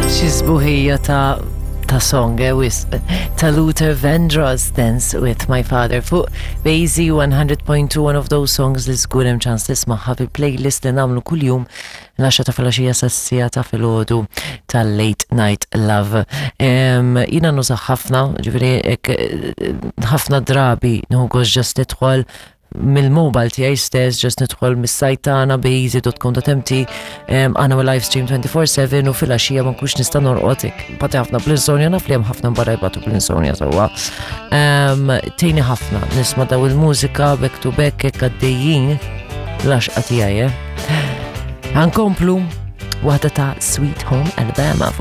Xi sbuħija ta' ta' song, eh, wisq. Ta' Luther Vandross, Dance with My Father fuq Basie 100.2, one of those songs li żgur hemm ċans tismagħha fil-playlist li nagħmlu kuljum l-10 ta' filgħaxija sas-siegħa ta' filgħodu tal-Late Night Love. Jiena nużah ħafna, ġifieri ħafna drabi nieħu gost ġast nidħol mill-mobile tiegħi stess, ġast nidħol mis-sajt tagħna bazy.com.mt, għandna live stream 24/7 u filgħaxija ma nkunx nista' norqod hekk. Bati ħafna bl-insomnia, naf li hemm ħafna barra jbatu bl-insomnia sewwa. Tgħinni ħafna nisma' daw il-mużika back to back hekk għaddejjin l-għaxqa tiegħi. Eh. Ħankomplu waħda ta' Sweet Home Alabama.